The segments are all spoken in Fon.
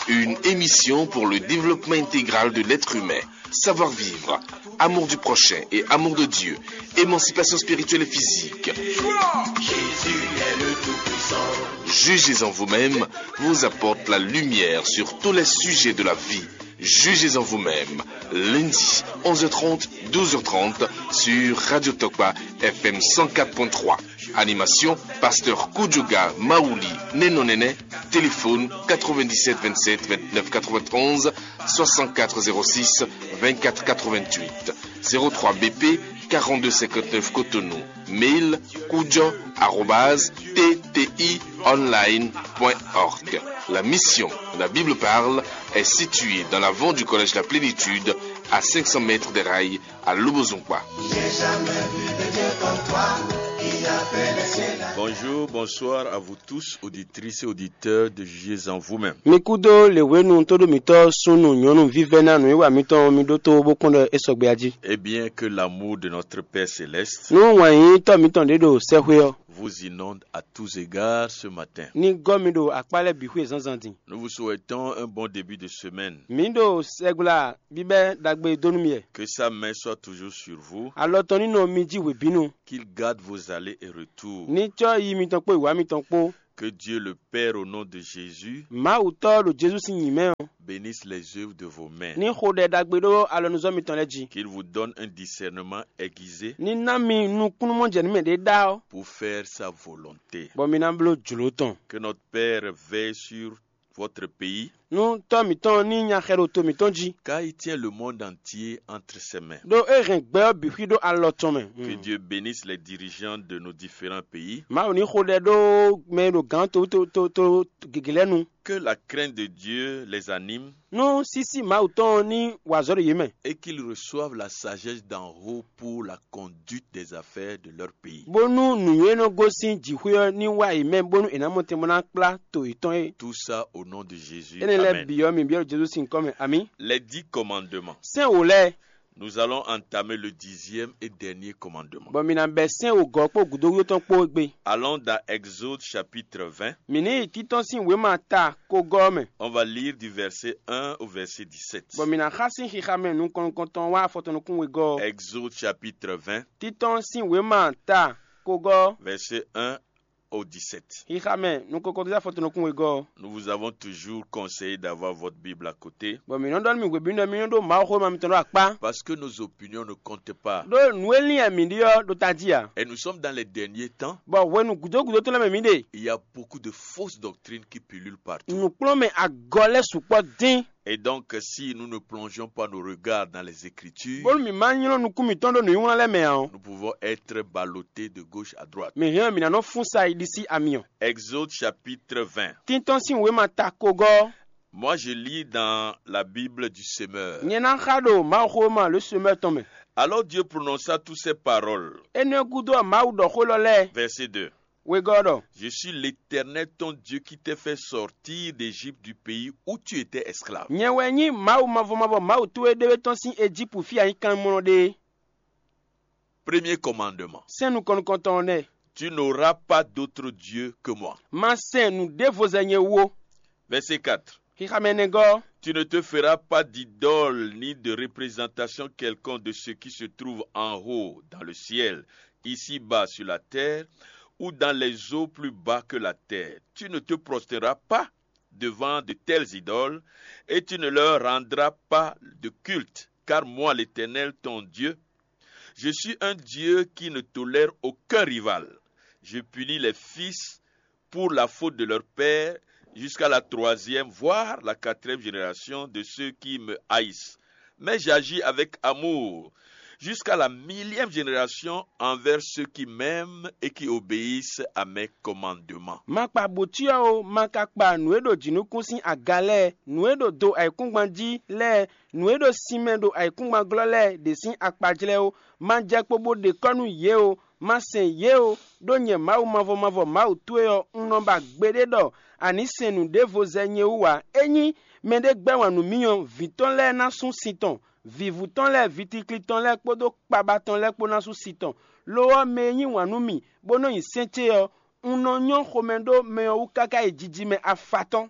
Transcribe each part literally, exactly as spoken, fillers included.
Une émission pour le développement intégral de l'être humain. Savoir-vivre, amour du prochain et amour de Dieu, émancipation spirituelle et physique. Jugez en vous-même vous apporte la lumière sur tous les sujets de la vie. Jugez en vous-même. Lundi, onze heures trente, douze heures trente, sur Radio Tokpa F M cent quatre point trois. Animation, pasteur Kudjoga Maouli Nenonene. Téléphone quatre-vingt-dix-sept vingt-sept vingt-neuf quatre-vingt-onze, soixante-quatre zéro six vingt-quatre quatre-vingt-huit, zéro trois B P quarante-deux cinquante-neuf Cotonou. Mail kudjo arobase T T I online point org. La mission, la Bible parle, est située dans l'avant du collège La Plénitude, à cinq cents mètres des rails, à Lobozungba. Bonjour, bonsoir à vous tous, auditrices et auditeurs de Jugez en vous-même. Mi kúdó lěwénu tóɖó mǐtɔn súnnu nyɔ̌nu vívɛ́ná nǔwiwa mitɔn mi ɖótó bó kɔn ɖɔ é sɔgbe jí. Et bien que l'amour de notre Père Céleste Nú wǎn yíyí tɔ́ mitɔn ɖě ɖo sɛ́xwé ɔ́, vous inonde à tous égards ce matin. Ní gɔ́ mi ɖo akpá lɛ́ɛ bǐ xwé zǎnzǎn din. Nous vous souhaitons un bon début de semaine. Mǐ ɖo sɛgbla bíbɛ́ ɖagbe dó nú mi wɛ. Que sa main soit toujours sur vous. Alɔ tɔn ní nɔ mi jí hwebǐnu. Qu'il garde vos allées et retours. Ní cɔ́ yi mitɔn kpó wǐwá mitɔn kpó. Que Dieu le Père, au nom de Jésus, Mawu Tɔ́ ɖo Jezu sín nyǐ mɛ ɔ́, bénisse les œuvres de vos mains. Ní xo ɖɛ ɖagbe ɖó alɔnuzɔ́ mitɔn lɛ́ɛ jí. Qu'il vous donne un discernement aiguisé Ní ná mi nukúnnú mɔjɛnǔmɛ ɖé ɖá ɔ́, pour faire sa volonté. Bɔ mi ná bló jlǒ tɔn. Que notre Père veille sur votre pays. Nú Tɔ́ mǐtɔn ní nya xɛ ɖo to mǐtɔn jí. Car il tient le monde entier entre ses mains. Ɖó é hɛn gbɛ ɔ́ bǐ xwí ɖó alɔ tɔn mɛ. Que Dieu bénisse les dirigeants de nos différents pays. Mawu ní xo ɖɛ ɖó mɛ e ɖo gǎn to to to to gěgé lɛ́ɛ nu. Que la crainte de Dieu les anime. Nú sísí Mawu tɔn ní wa azɔ̌ ɖo yě mɛ. Et qu'ils reçoivent la sagesse d'en haut pour la conduite des affaires de leur pays. Bónú nǔnywɛ́ e nɔ gosín jǐxwé ɔ́ ní wá yě mɛ bónú è nǎ mɔ tɛn bó ná kplá to yětɔn é. Tout ça au nom de Jésus. Énɛ́ lɛ́ɛ Amen. Bǐ ɔ́, mi byɔ́ Jezu sín kɔ́ mɛ. Amǐ. Les dix commandements. Sɛ́n wǒ lɛ́ɛ. Nous allons entamer le dixième et dernier commandement. Bɔ mi ná bɛ́ sɛ́n wǒgɔ́ kpó gǔdo wíwó tɔn kpó égbé. Allons dans Exode chapitre vingt, Mǐ ní yi títɔ́n sín wěma ta kogɔ́ ɔ́ mɛ. On va lire du verset un au verset dix-sept. Bɔ mǐ ná xá sín xixa mɛ nukɔn nukɔntɔn wá afɔtɔn nukún wegɔ́ ɔ́. Exode chapitre vingt, Títɔ́n sín wěma ta kogɔ́ ɔ́. Verset un au dix-sept. Xixa mɛ nukɔn nukɔntɔn afɔtɔn nukún wegɔ́ ɔ́. Nous vous avons toujours conseillé d'avoir votre Bible à côté. Bɔ mǐ nɔ ɖɔ nú mi hwebǐnu ɖɔ mi nɔ ɖó Mawuxówéma mitɔn ɖó akpá. Parce que nos opinions ne comptent pas. Ɖó nǔ e lin wɛ mǐ ɖe ɔ́ ɖo tají ǎ. Et nous sommes dans les derniers temps. Bɔ hwenu gǔdo gǔdo tɔn lɛ́ɛ mɛ mǐ ɖe. Il y a beaucoup de fausses doctrines qui pullulent partout. Nǔkplɔ́nmɛ agɔ lɛ́ɛ sukpɔ́ dín. Et donc, si nous ne plongeons pas nos regards dans les Écritures, Bónú mǐ ma nylɔ́ nukún mǐtɔn ɖó nǔnywlán lɛ́ɛ mɛ ǎ ɔ́, nous pouvons être ballottés de gauche à droite. Mǐ hɛn mǐ ná nɔ fún sa yi ɖisí amyɔ. Exode chapitre vingt. Títɔn sín wěma ta kogɔ́. Moi, je lis dans la Bible du Semeur. Nyɛ ná xa ɖo Mawuxówéma le Semeur tɔn mɛ. Alors Dieu prononça toutes ces paroles. Énɛ́ gúdo ɔ́, Mawu ɖɔ xó lɔ lɛ́ɛ. Verset deux. Wegɔ́ ɔ́ ɖɔ: Je suis l'Éternel ton Dieu qui t'a fait sortir d'Égypte, du pays où tu étais esclave. Nyɛ wɛ nyí Mawu mavɔ mavɔ Mawu towe ɖéwé tɔn sín Ejípu fí a nyí kanmlɔ ɖe é. Premier commandement. Sɛ́n nukɔn nukɔntɔn ɔ́ nɛ́. Tu n'auras pas d'autre Dieu que moi. Ma sɛn nǔɖévo zɛ nyɛ wú ó. Verset quatre. Xixa mɛ nɛgɔ́. Tu ne te feras pas d'idole ni de représentation quelconque de ce qui se trouve en haut dans le ciel, ici-bas sur la terre, ou dans les eaux plus bas que la terre. Tu ne te prosterneras pas devant de telles idoles, et tu ne leur rendras pas de culte, car moi, l'Éternel, ton Dieu, je suis un Dieu qui ne tolère aucun rival. Je punis les fils pour la faute de leur père jusqu'à la troisième, voire la quatrième génération de ceux qui me haïssent. Mais j'agis avec amour jusqu'à la millième génération envers ceux qui m'aiment et qui obéissent à mes commandements. Ma kpa bǒcyɔ ó, ma ka kpa nǔ e ɖo jǐnukún sín aga lɛ́ɛ, nǔ e ɖo do ayǐkúngban jí lɛ́ɛ, nǔ e ɖo sinmɛ ɖo ayǐkúngban glɔ́ lɛ́ɛ ɖě sín akpajlɛ́ ó. Ma jɛ kpo bó ɖe kɔ́ nú yě ó, ma sɛn yě ó, ɖó nyɛ Mawu mavɔ mavɔ Mawu towe ɔ́, un nɔ ba gbeɖé ɖɔ a nǐ sɛn nǔɖévo zɛ nyɛ wú ǎ. Ényí mɛɖé gbɛ́ wǎn nú mì ɔ́, vǐ tɔn lɛ́ɛ ná sú sin tɔn, vǐvú tɔn lɛ́ɛ, vǐtikli tɔn lɛ́ɛ kpódó kpaba tɔn lɛ́ɛ kpó ná sú sin tɔn. Lo ɔ́, mɛ e yí wǎn nú mì, bó nɔ́ nyi sɛ́n ce ɔ́, un nɔ nyɔ́ xomɛ ɖó mɛ ɔ́ wú káká yi jiji mɛ afatɔ́n.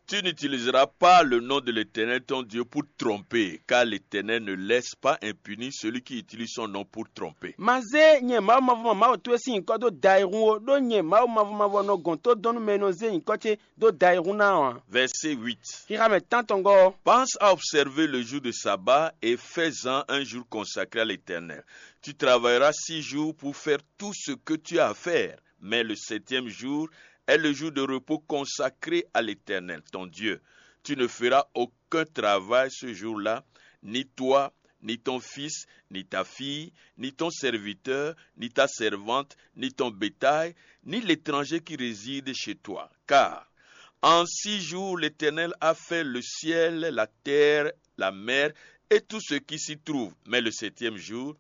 Tu n'utiliseras pas le nom de l'Éternel ton Dieu pour tromper, car l'Éternel ne laisse pas impuni celui qui utilise son nom pour tromper. Ma zé nyɛ Mawu mavɔ Mawu towe sín nyǐkɔ dó da ayihún ó, ɖó nyɛ Mawu mavɔ mavɔ nɔ gɔn tó dɔn nú mɛ e nɔ zé nyǐkɔ ce dó da ayihún ná ɔ́ ǎ. Verset huit. Xixa mɛ tántɔngɔ́ ɔ́, Pense à observer le jour de sabbat et fais-en un jour consacré à l'Éternel. Tu travailleras six jours pour faire tout ce que tu as à faire, mais le septième jour est le jour de repos consacré à l'Éternel, ton Dieu. Tu ne feras aucun travail ce jour-là, ni toi, ni ton fils, ni ta fille, ni ton serviteur, ni ta servante, ni ton bétail, ni l'étranger qui réside chez toi. Car en six jours, l'Éternel a fait le ciel, la terre, la mer et tout ce qui s'y trouve. Mais le septième jour,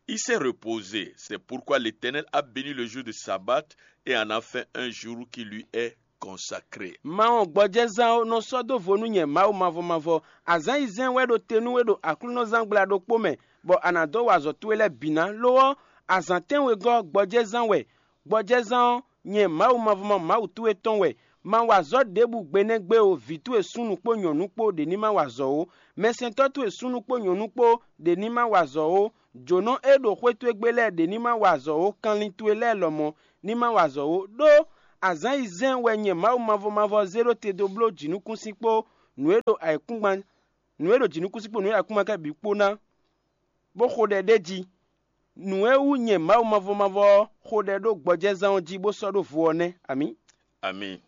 il s'est reposé. C'est pourquoi l'Éternel a béni le jour de sabbat et en a fait un jour qui lui est consacré. Ma wɔn gbɔjɛzán ó nɔ sɔ́ dó vo nú nyɛ Mawu mavɔ mavɔ. Azǎn yi zɛ́n wɛ ɖo te nú we ɖo aklúnɔzángbla ɖokpó mɛ, bɔ a nǎ dó wa azɔ̌ towe lɛ́ɛ bǐ ná. Lo ɔ́, azǎn tɛ́nwegɔ́ gbɔjɛzán wɛ. Gbɔjɛzán ɔ́, nyɛ Mawu mavɔ mavɔ Mawu towe tɔn wɛ. Ma wa azɔ̌ ɖěbǔ gbe nɛ́ gbe ó, vǐ towe súnnu kpó nyɔ̌nu kpó ɖě ní ma wa azɔ̌ ó. Mɛsɛntɔ́ towe súnnu kpó nyɔ̌nu kpó ɖě ní ma wa azɔ̌ ó. Jǒnɔ e ɖo xwé towe gbe lɛ́ɛ ɖě ní ma wa azɔ̌ ó. Kanlin towe lɛ́ɛ lɔmɔ̌ ní ma wa azɔ̌ ó. Ɖó azǎn yi zɛ́n wɛ nyɛ Mawu mavɔ mavɔ zé ɖó te dó bló jǐnukúnsin kpó nǔ e ɖo ayǐkúngban nǔ e ɖo jǐnukúnsin kpó nǔ e ɖo ayǐkúngban káká bǐ kpó ná, bó xo ɖɛ ɖ'é jí. Nǔ e wú nyɛ Mawu mavɔ mavɔ ɔ́ xo ɖɛ ɖó gbɔjɛzán ɔ́ jí bó sɔ́ ɖó vo ɔ́ nɛ́. Amǐ. Amen.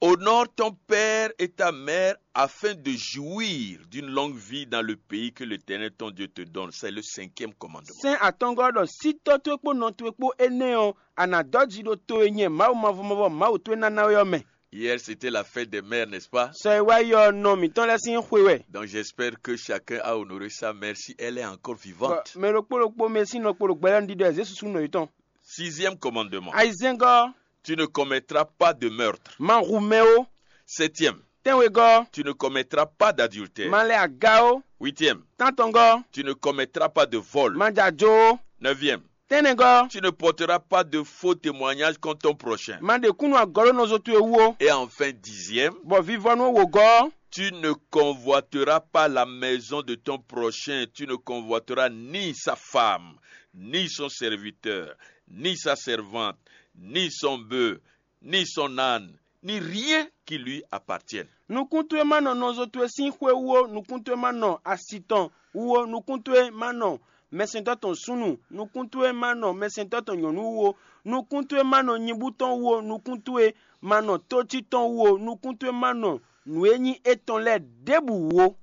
Honore ton père et ta mère afin de jouir d'une longue vie dans le pays que l'Éternel ton Dieu te donne. C'est le cinquième commandement. Sɛ́n atɔ́ngɔ́ ɖɔ sí tɔ́ towe kpó nɔ towe kpó énɛ́ ɔ́, a nǎ dɔ́ ji ɖo to e nyɛ Mawu mavɔ mavɔ Mawu towe ná ná we ɔ́ mɛ. Hier, c'était la fête des mères, n'est-ce pas? Sɔ e wá yi ɔ́, nɔ mǐtɔn lɛ́ɛ sín xwe wɛ. Donc, j'espère que chacun a honoré sa mère si elle est encore vivante. Mɛ ɖokpó ɖokpó mɛ sín nɔ kpo ɖo gbɛ lɛ́ɛ ɖiɖɔ ɛ zé susu nɔ yětɔn. Sixième commandement. Ayizɛ́ngɔ́. Tu ne commettras pas de meurtre. Ma hu mɛ ó. Septième. Tɛ́nwegɔ́. Tu ne commettras pas d'adultère. Ma lɛ aga ó. Huitième. Tántɔngɔ́. Tu ne commettras pas de vol. Ma jɛ ajo ó. Neuvième. Tɛ́nnɛgɔ́. Tu ne porteras pas de faux témoignages contre ton prochain. Ma ɖe kúnnu agɔ̌ ɖó nɔzo towe wú ó. Et enfin, dixième. Bɔ vivɔnu wogɔ́. Tu ne convoiteras pas la maison de ton prochain. Tu ne convoiteras ni sa femme, ni son serviteur, ni sa servante, ni son bœuf, ni son âne, ni rien qui lui appartienne. Nukún towe ma nɔ nɔzo towe sín xwé wú ó, nukún towe ma nɔ asi tɔn wú ó, nukún towe ma nɔ mɛsɛntɔ́ tɔn súnnu, nukún towe ma nɔ mɛsɛntɔ́ tɔn nyɔ̌nu wú ó, nukún towe ma nɔ nyibú tɔn wú ó, nukún towe ma nɔ tócí tɔn wú ó, nukún towe ma nɔ nǔ e nyí étɔn lɛ́ɛ ɖěbǔ wú ó.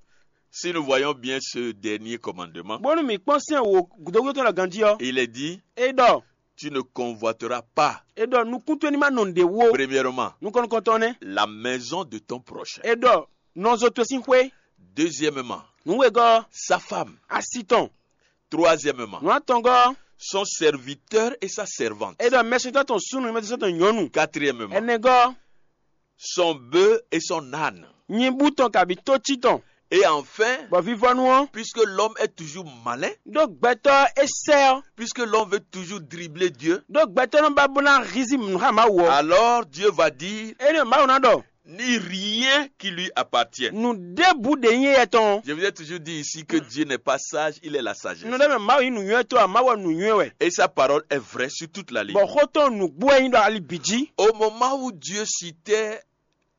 Si nous voyons bien ce dernier commandement, Bónú mǐ kpɔ́n sɛ́n wǒ gǔdógúdó tɔn ɖo ganjí ɔ́, il est dit, é ɖɔ, tu ne convoiteras pas, é ɖɔ nukún towe ní ma nɔ nǔɖé wú ó. Premièrement, Nukɔn nukɔntɔn nɛ́. La maison de ton prochain. É ɖɔ nɔzo towe sín xwé. Deuxièmement, Nǔwegɔ́, sa femme. Asi tɔn. Troisièmement, Nǔ atɔngɔ́, son serviteur et sa servante. É ɖɔ mɛsɛntɔ́ tɔn súnnu, mɛsɛntɔ́ tɔn nyɔ̌nu. Quatrièmement, Ɛnɛgɔ́, son bœuf et son âne. Nyibú tɔn kabǐ tócí tɔn. Et enfin, Bɔ vivɔnu ɔ́, puisque l'homme est toujours malin, Ɖó gbɛtɔ́ é sɛ́ ɔ́, Puisque l'homme veut toujours dribbler Dieu, Ɖó gbɛtɔ́ nɔ ba bó ná hízí nǔ xá Mawu ɔ́, alors Dieu va dire, Énɛ́ Mawu ná ɖɔ, ni rien qui lui appartienne. Nǔ ɖěbǔ ɖě nyí éyɛ́ tɔn. Je vous ai toujours dit ici que Dieu n'est pas sage, il est la sagesse. Nɔ ɖé mɛ Mawu nyí nǔnywɛ́tɔ́ ǎ, Mawu wɛ nǔnywɛ́ wɛ. Et sa parole est vraie sur toute la ligne. Bɔ xó tɔn nǔgbó wɛ nyí ɖɔ ali bǐ jí. Au moment où Dieu citait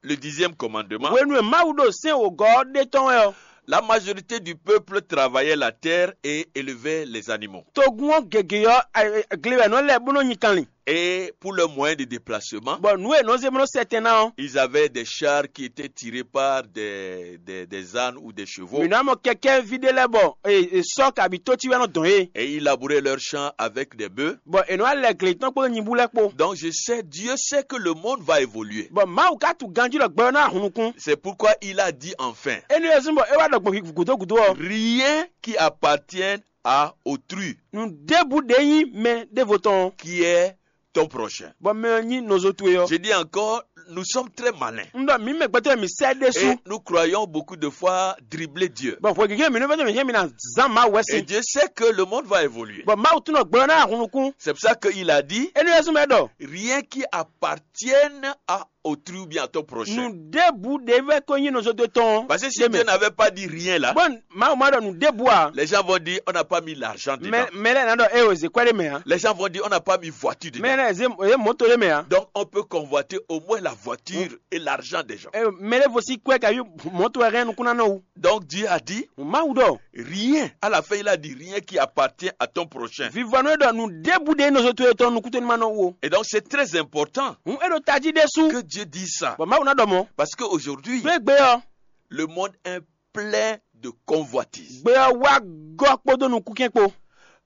le dixième commandement, Hwenu e Mawu ɖo sɛ́n wǒgɔ́ ɔ́ ɖe tɔn wɛ ɔ́, La majorité du peuple travaillait la terre et élevait les animaux. Togun ɔ́ gěgé ɔ́, gle wɛ nɔ lɛ́ bó nɔ nyi kanlin. Et pour leurs moyens de déplacement, Bɔ nǔ e nɔ zé bó nɔ sɛ tɛn ná ɔ́, Ils avaient des chars qui étaient tirés par des, des, des ânes ou des chevaux. Mǐ nɔ mɔ kɛkɛ́ví ɖé lɛ́ɛ bɔ e sɔ́ kabi tócí wɛ nɔ dɔn yé. Et ils labouraient leurs champs avec des bœufs. Bɔ è nɔ wá lɛ gle tɔn kpódó nyibú lɛ́ɛ kpó. Donc je sais, Dieu sait que le monde va évoluer. Bɔ Mawu ka tunwun ganjí ɖɔ gbɛ ɔ́ ná hun nukún. C'est pourquoi il a dit enfin, Énɛ́ ɔ́ zɔ́n bɔ é wá ɖɔ gbɔn gǔdo gǔdo ɔ́, Rien qui appartienne à autrui, Nǔ ɖěbǔ ɖě nyí mɛ ɖěvo tɔn ɔ́, qui est ton prochain. Bɔ mɛ ɔ́ nyí nɔzo towe ɔ́. Je dis encore, Nous sommes très malins. Un ɖɔ mǐ mɛ gbɛtɔ́ mǐ sɛ ɖésú. Et nous croyons beaucoup de fois dribbler Dieu. Bɔn hwɛ gěgé mǐ nɔ vɛ́ mǐ hɛn mǐ ná zán Mawu wɛ Et si. Dieu sait que le monde va évoluer. Bɔn Mawu tún nɔ gbɔ ná hun nukún. C'est pour ça qu'il a dit, Énɛ́ wɛ zɔ́n mɛ ɖɔ rien qui appartienne à autrui ou bien à ton prochain. Nǔɖěbǔ ɖě vɛ́ ko nyí nɔzɔ́dó tɔn. Parce que si Dieu n'avait pas dit rien là, Bɔn Mawu ma ɖɔ nǔɖěbǔ ǎ. Les gens vont dire, on n'a pas mis l'argent dedans. Mɛ lɛ́ɛ ná ɖɔ é o zě kwɛ́ ɖé mɛ ǎ. Les gens vont dire, on n'a pas mis voiture dedans. Mɛ lɛ́ɛ zé é mɔ̌to ɖé mɛ ǎ. Donc on peut convoiter au moins la voiture et l'argent des gens. Mɛ lɛ́ɛ vo sí kwɛ́ kayi mɔ̌to wɛ hɛn nukúnnánɔ wú. Donc Dieu a dit, Mawu ɖɔ rien. À la fin, il a dit, rien qui appartient à ton prochain. Vivɔnu e ɖɔ nǔɖěbǔ ɖě nɔ zo towe tɔn nukúntónúmánɔ wú o. Et donc c'est très important Hǔn é ɖo tají ɖésú. Que Dieu dise ça. Bɔ Mawu ná ɖɔ mɔ̌. Parce qu'aujourd'hui, Ɖó égbé ɔ́, le monde est plein de convoitises. Gbé ɔ́ wá gɔ́ kpódó nukúnkɛn kpó.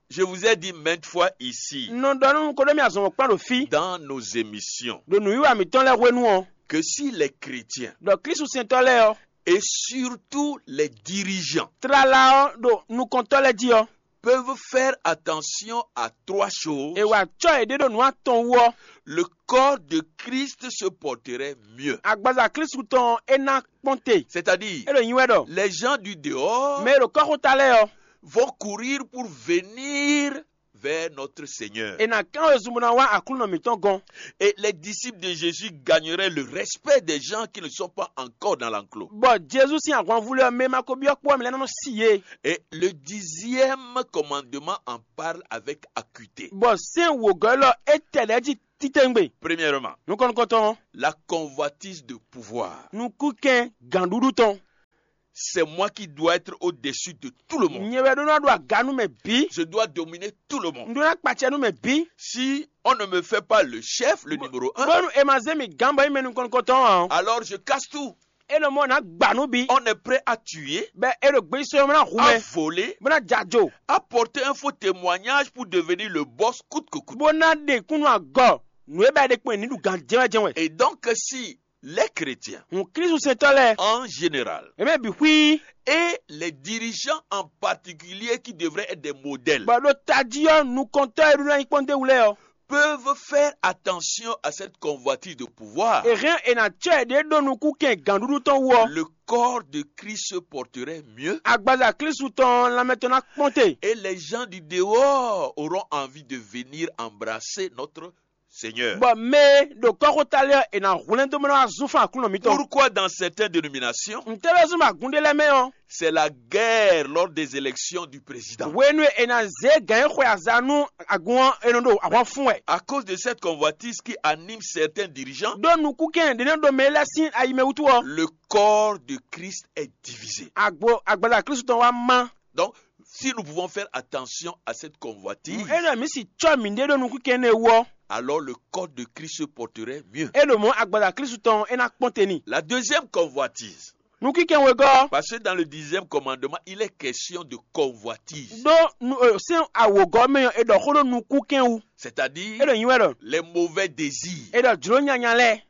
Je vous ai dit maintes fois ici, Un nɔ ɖɔ nú nukɔn ɖɔ mì azɔn kplɔ́n ɖo fí. Dans nos émissions, Ɖo nǔwiwa mǐtɔn lɛ́ɛ hwenu ɔ́, que si les chrétiens, Ɖɔ Klísu sɛntɔ́ lɛ́ɛ ɔ́, Et surtout les dirigeants, Tlala ɔ́ ɖo nukɔntɔ́ lɛ́ɛ jí ɔ́, Peuvent faire attention à trois choses. È wa acɔ́ yěɖée ɖo nǔ atɔn wú ɔ́, Le corps de Christ se porterait mieux. Agbaza Klísu tɔn ɔ́, é ná kpɔ́n te. C'est-à-dire, É ɖo nyi wɛ ɖɔ les gens du dehors mɛ e ɖo kɔ́xota lɛ́ɛ ɔ́, Vont courir pour venir vers notre Seigneur. È nǎ kán wezun bó ná wá Aklúnɔ mǐtɔn gɔ́n. Et les disciples de Jésus gagneraient le respect des gens qui ne sont pas encore dans l'enclos. Bɔ Jezu sín ahwanvú lɛ́ɛ ɔ́, mɛ e ma ko byɔ́ kpó ɔ́, mɛ lɛ́ɛ nɔ si yě. Et le dixième commandement en parle avec acuité. Bɔ sɛ́n wǒgɔ́ élɔ́ é tɛ lɛ́ jí títɛ́ngbe. Premièrement, Nukɔn nukɔntɔn ɔ́, La convoitise de pouvoir. Nukúnkɛn gǎnɖuɖu tɔn. C'est moi qui dois être au-dessus de tout le monde. Nyɛ wɛ ɖó ná ɖo aga nú mɛ bǐ. Je dois dominer tout le monde. Un ɖó ná kpacɛ nú mɛ bǐ. Si on ne me fait pas le chef, le numéro un, Bónú è ma zé mì gǎn bɔ nyí mɛ nukɔn nukɔntɔn ǎ ɔ́, alors je casse tout. É nɔ mɔ ná gba nú bǐ. On est prêt à tuer, Bɛ é ɖo gbeyísɔ́ ná hu à mɛ, voler, bó ná jajo. À porter un faux témoignage pour devenir le boss coûte que coûte. Bó ná ɖe kún nú agɔ. Nǔ e bɛ ɖe kpɔ́n ní ɖu gǎn jɛ́nwɛ́jɛ́nwɛ. Et donc, si les chrétiens, Hǔn Klísu sɛntɔ́ lɛ́ɛ, En général, È mɛ bǐ xwí. Et les dirigeants en particulier qui devraient être des modèles, Bɔ ɖo tají ɔ́, nukɔntɔ́ e ɖó ná nyí kpɔ́ndéwu lɛ́ɛ ɔ́, Peuvent faire attention à cette convoitise de pouvoir. È hɛn è nǎ cɔ́ yěɖée ɖó nukúnkɛn gǎnɖuɖu tɔn wú ɔ́, Le corps de Christ se porterait mieux. Agbaza Klísu tɔn ɔ́, lanmɛ tɔn ná kpɔ́n te. Et les gens du dehors auront envie de venir embrasser notre Seigneur. Bɔ mɛ e ɖo kɔ́xota lɛ́ɛ ɔ́, è nǎ hwlɛ́n dó mɔ ná wá zún fán Aklúnɔ mǐtɔn. Pourquoi dans certaines dénominations, Ntɛ́ wɛ zɔ́n bɔ agun ɖé lɛ́ɛ mɛ ɔ́, c'est la guerre lors des élections du président? Hwenu e è nǎ zé gǎn e xwe aza nú agun ɔ́, è nɔ ɖo ahwan fún wɛ. À cause de cette convoitise qui anime certains dirigeants, Ɖó nukúnkɛn ɖě nɔ ɖo mɛ lɛ́ɛ sín ayi mɛ wútu ɔ́, Le corps de Christ est divisé. Agbo agbaza Klísu tɔn wá má. Donc, si nous pouvons faire attention à cette convoitise, Ényí mǐ si cɔ́ mǐɖée ɖó nukúnkɛn énɛ́ wú ɔ́, Alors le corps de Christ se porterait mieux. É ɖo mɔ̌ agbaza Klísu tɔn é ná kpɔ́n te n'i. La deuxième convoitise. Nukínkɛn wegɔ́. Parce que dans le dixième commandement, il est question de convoitise. Ɖó nu- ɔ, sɛ́n awǒgɔ́ mɛ ɔ́, è ɖɔ xó ɖó nukúnkɛn wú. C'est-à-dire, É ɖo nyi wɛ ɖɔ les mauvais désirs. È ɖɔ jlǒ nyanya lɛ́ɛ.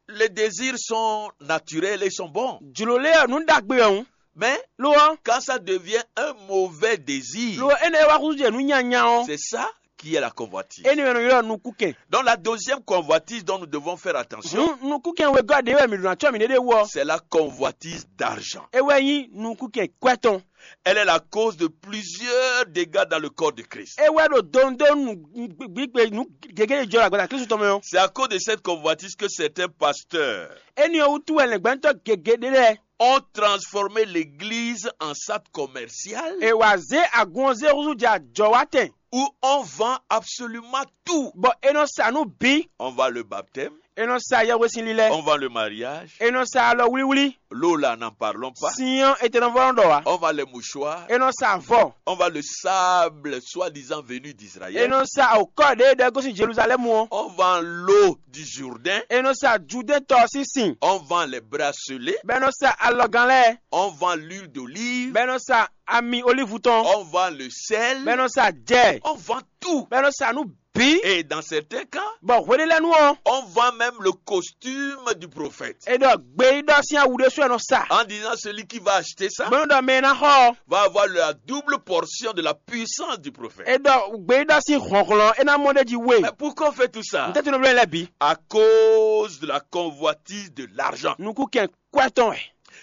Les désirs sont naturels et sont bons. Jlǒ lɛ́ɛ ɔ́, nǔ ɖagbe wɛ hǔn. Mais Lo ɔ́, quand ça devient un mauvais désir, lo ɔ́, énɛ́ e wá húzú jɛ nǔ nyanya ɔ́, c'est ça qui est la convoitise. Énɛ́ wɛ nɔ ylɔ́ nukúnkɛn. Donc la deuxième convoitise dont nous devons faire attention, Hǔn nukúnkɛn wegɔ́ ɖě wɛ mǐ ɖo ná cɔ́ mǐɖée ɖé wú ɔ́, c'est la convoitise d'argent. É wɛ nyí nukúnkɛn kwɛ́ tɔn. Elle est la cause de plusieurs dégâts dans le corps de Christ. É wɛ ɖo dondonu gbígbé nú gěgé e jɔ ɖo agbaza Klísu tɔn mɛ ɔ́. C'est à cause de cette convoitise que certains pasteurs Énɛ́ ɔ́ wútu wɛ lɛ̌ngbɛ́ntɔ́ gěgé ɖé lɛ́ɛ ont transformé l'église en centre commercial. È wǎ zé agun ɔ́ zé húzú jɛ ajɔ̌wátɛn. Où on vend absolument tout. Bɔ è nɔ sa nú bǐ. On vend le baptême. È nɔ sa yɛhwesin lilɛ. On vend le mariage. È nɔ sa alɔ wlíwlí. L'eau là, n'en parlons pas. Sin ɔ́, è tɛ́ nɔ vɔ́ nɔ ɖɔ wǎ. On vend les mouchoirs. È nɔ sa avɔ. On vend le sable soi-disant venu d'Israël. È nɔ sa awǒkɔ ɖě e ɖɔ gosín Jeluzalɛ́mu ɔ́. On vend l'eau du Jourdain. È nɔ sa Judɛ́ɛn tɔ ɔ́ sín sin. On vend les bracelets. Bɔ è nɔ sa alɔgán lɛ́ɛ. On vend l'huile d'olive. Bɔ è nɔ sa ami olívu tɔn. On vend le sel. Bɔ è nɔ sa jɛ. On vend tout. Bɔ è nɔ sa nǔ bǐ. Et dans certains cas, Bɔ hweɖé lɛ́ɛ nu ɔ́, on vend même le costume du prophète. É ɖɔ gbeyíɖɔ sín awu ɖésú wɛ nɔ sa. En disant celui qui va acheter ça Bónú ɖɔ mɛ e ná xɔ ɔ́, va avoir la double portion de la puissance du prophète. É ɖɔ gbeyíɖɔ sín hlɔ̌nhlɔ́n é ná mɔ ɖ'é jí we. Mais pourquoi on fait tout ça? Ntɛ́ tunu bló lɛ́ɛ bǐ? À cause de la convoitise de l'argent. Nukúnkɛn kwɛ́ tɔn wɛ.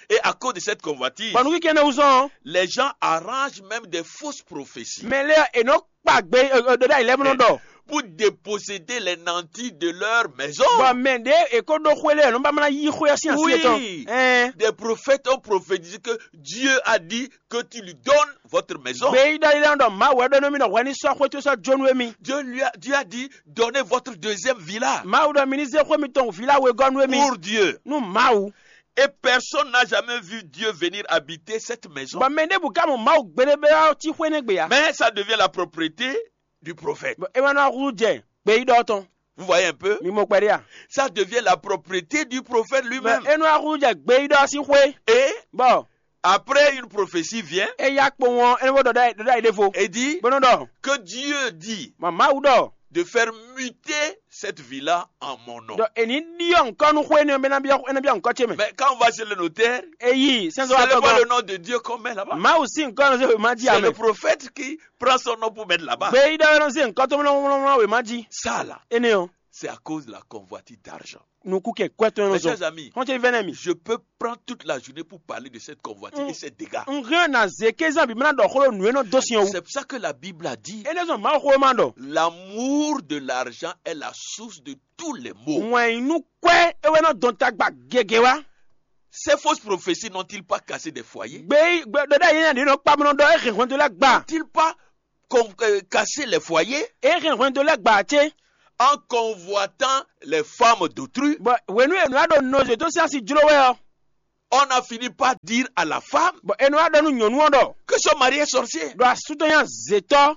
Et à cause de cette convoitise, Bɔ nukúnkɛn énɛ́ wú zɔ́n ɔ́, les gens arrangent même des fausses prophéties. Mɛ lɛ́ɛ è nɔ kpa gbé ɖɔɖá yi lɛ́ɛ bó nɔ ɖɔ. Pour déposséder les nantis de leur maison. Bɔ mɛ ɖě è ko ɖó xwé lɛ́ɛ nɔ ba ma ná yí xwé ɔ́ sín así yětɔn. Oui. Ɛn. Des prophètes ont prophétisé que Dieu a dit que tu lui donnes votre maison. Gbeyíɖɔ yi lɛ́ɛ nɔ ɖɔ Mawu wɛ ɖɔ nú mi ɖɔ hwɛ ní sɔ́ xwé towe sɔ́ jó nú émí. Dieu lui a, Dieu a dit, donnez votre deuxième villa Mawu ɖɔ mi ní zé xwé mitɔn vǐ lá wegɔ́ nú émí. Pour Dieu. Nú Mawu. Et personne n'a jamais vu Dieu venir habiter cette maison. Bɔ mɛ ɖěbǔ ka mɔ Mawu gbeɖé bɛ ɔ́ cí xwé nɛ́ gbe ǎ. Mais ça devient la propriété du prophète. Bɔ é wɛ nɔ húzú jɛ gbeyíɖɔ tɔn. Vous voyez un peu? Mi mɔ kpɛɖé a? Ça devient la propriété du prophète Bɔ lui-même. é nɔ húzú jɛ gbeyíɖɔ sín xwé. Et Bɔ après, une prophétie vient é yá kpowun ɔ́ é nɔ ɖɔɖá ɖɔɖá yi ɖěvo. et dit Bó nɔ ɖɔ que Dieu dit mɔ Mawu ɖɔ de faire muter cette villa en mon nom. ɖɔ è ní ɖyɔ ŋkɔ nú xwé énɛ́ ɔ́ bɔ é ná byɔ́ é ná byɔ́ ŋkɔ ce mɛ. Mais quand on va chez le notaire, Èyí sɛnsɛn c'est wa le, pas tɔgɔ. le nom de Dieu qu'on met là-bas. Mawu sín ŋkɔ ɔ́ nɔ zé wěma jí C'est le amɛ. Prophète qui prend son nom pour mettre là-bas. Gbeyíɖɔ ɔ́ nɔ zé ŋkɔ tó mlɔmlɔmlɔ wěma jí. Ça là, Énɛ́ ɔ́ c'est à cause de la convoitise d'argent. Nukúnkɛn kwɛ́ tɔn ɔ́ nɔ Mes zɔn. chers amis, Xɔ́ntɔn vɛ́nɛ mi. Je peux prendre toute la journée pour parler de cette convoitise et ces dégâts. Un hɛn na zě kézán bǐ mlá ɖɔ xó ɖo nǔ e nɔ dó sin ɔ́ wú. C'est pour ça que la Bible a dit, Énɛ́ zɔn Mawu xó ma ɖɔ. L'amour de l'argent est la source de tous les maux. Wɛn yi nú kwɛ́ é wɛ nɔ dɔn tagba gěgé wá. Ces fausses prophéties n'ont-ils pas cassé des foyers? Gbé gbé ɖɔɖá yé nya ɖě nɔ kpa mɔ nɔ ɖɔ é hɛn hwɛndo lɛ́ɛ gba. N'ont-ils pas con- euh, cassé les foyers? É hɛn hwɛndo lɛ́ɛ gba cé. En convoitant les femmes d'autrui, Bɔ hwenu e nǔ ɖo nɔzo tó sín asi jló wɛ ɔ́, on a fini par dire à la femme bɔ é nɔ wá ɖɔ nú nyɔ̌nu ɔ́ ɖɔ que son mari est sorcier. ɖɔ asú tɔn nya zětɔ́.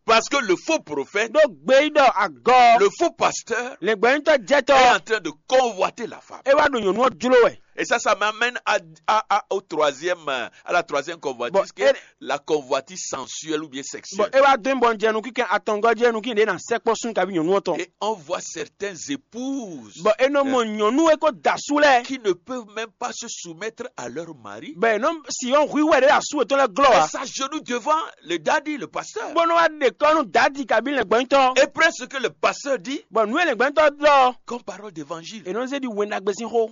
Parce que le faux prophète, Ɖó gbeyíɖɔ agɔ le faux pasteur lɛngbɛ́nyítɔ́ est jɛtɔ́ en train de convoiter la femme. É wá ɖo nyɔ̌nu ɔ́ jló wɛ. Et ça, ça m'amène à, à- à- au troisième, euh, à la troisième convoitise, Bon, qui est et- la convoitise sensuelle ou bien Bɔ sexuelle. É wá dó nyí bɔ un jɛ nukínkɛn atɔngɔ́ jí nukín ɖě ná sɛkpɔ́ sún kaví nyɔ̌nu ɔ́ tɔn. Et on voit certaines épouses Bɔ é nɔ mɔ nyɔ̌nu e ko da asú lɛ́ɛ. Qui ne peuvent même pas se soumettre à leur mari. Bɔ é nɔ si ɔ́ hu wɛ ɖě asú yětɔn lɛ́ɛ glɔ́ Elles ǎ. s'agenouillent devant le daddy, le pasteur. Bó nɔ wá ɖe kɔ́ nú dǎdi kaví lɛngbɛ́nyítɔ́. Et prennent ce que le pasteur dit Bɔ nǔ e lɛngbɛ́nyítɔ́ ɖɔ comme parole d'évangile. É nɔ zé ɖi wɛn ɖagbe sín xó.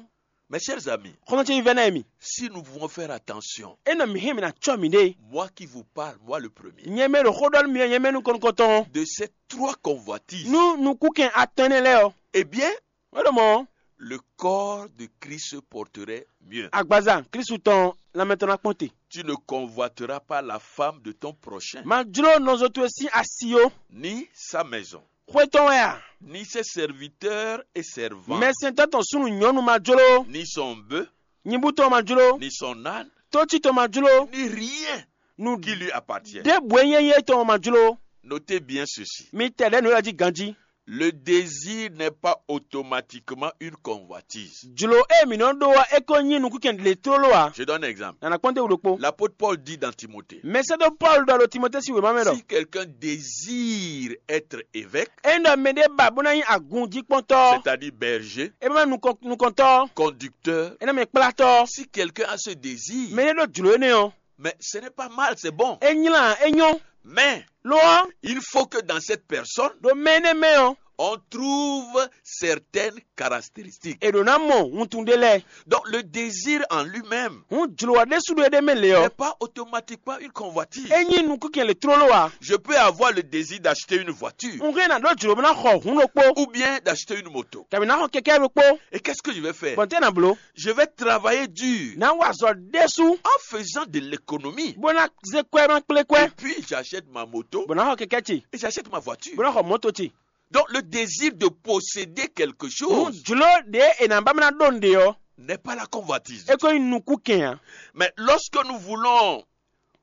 Mes chers amis, Xɔ́ntɔn ce vívɛ́ ná mi. Si nous pouvons faire attention, É nɔ mǐ hɛn mǐ ná cɔ́ mǐɖée. Moi qui vous parle, moi le premier, Nyɛ mɛ ɖo xó ɖɔ nú mi ɔ́, nyɛ mɛ nukɔn nukɔntɔn. De ces trois convoitises, Nú nukúnkɛn atɔn énɛ́ lɛ́ɛ ɔ́, eh bien, é ɖo mɔ̌, le corps de Christ se porterait mieux. Agbaza Kristu tɔn lanmɛ tɔn ná kpɔ́n te. Tu ne convoiteras pas la femme de ton prochain, Ma jló nɔzo towe sín asi ó. Ni sa maison, Xwé tɔn wɛ a? Ni ses serviteurs et servantes, Mɛsɛntɔ́ tɔn súnnu nyɔ̌nu ma jló. Ni son bœuf, Nyibú tɔn ma jló. Ni son âne, Tócí tɔn ma jló. Ni rien Nu qui lui appartient. Ɖěbǔ e nyí éyɛ́ tɔn ma jló. Notez bien ceci. Mi tɛ ɖɛ̌ nǔ élɔ́ jí ganjí. Le désir n'est pas automatiquement une convoitise. Jlǒ e mǐ nɔ ɖó ɔ́, é ko nyí nukúnkɛn lě tlóló ǎ. Je donne un exemple. Nǎ ná kpɔ́n dó wǔ ɖokpó. L'apôtre Paul dit dans Timothée, Mɛsɛ́dó Pɔ́lu ɖɔ ɖo Timɔtée sín wěma mɛ ɖɔ si quelqu'un désire être évêque, ényí ɖɔ mɛɖé ba bó ná nyí agunjíkpɔ́ntɔ́, c'est-à-dire berger, é bá nukɔn- nukɔntɔ́, conducteur, é ná mɛ kplátɔ́, si quelqu'un a ce désir, mɛɖé ɖó jlǒ énɛ́ ɔ́, mais ce n'est pas mal, c'est bon. É nylá, é nyɔ́. Mais lo ɔ́, il faut que dans cette personne, ɖo mɛ énɛ́ mɛ ɔ́, on trouve certaines caractéristiques. È ɖǒ ná mɔ wuntun ɖé lɛ́ɛ. Donc le désir en lui-même Hǔn jlǒ ɔ́ ɖésú ɖo éɖée mɛ lě ɔ́, n'est pas automatiquement une convoitise. É nyí nukúnkɛn lě tlóló ǎ. Je peux avoir le désir d'acheter une voiture Un hɛn ná ɖó jlǒ bó ná xɔ hǔn ɖokpó, ou bien d'acheter une moto. Kabǐ ná xɔ kɛkɛ́ ɖokpó. Et qu'est-ce que je vais faire? Bɔn tɛ́ ná blǒ? Je vais travailler dur Ná wa azɔ̌ ɖésú en faisant de l'économie. Bó ná zé kwɛ́ ná kplé kwɛ́. Et puis j'achète ma moto Bó ná xɔ kɛkɛ́ ce. Et j'achète ma voiture. Bó ná xɔ mɔ̌to ce. Donc le désir de posséder quelque chose Hǔn jlǒ ɖě è nǎ ba ná ɖó nǔɖé ɔ́, n'est pas la convoitise. É ko nyí nukúnkɛn ǎ. Mais lorsque nous voulons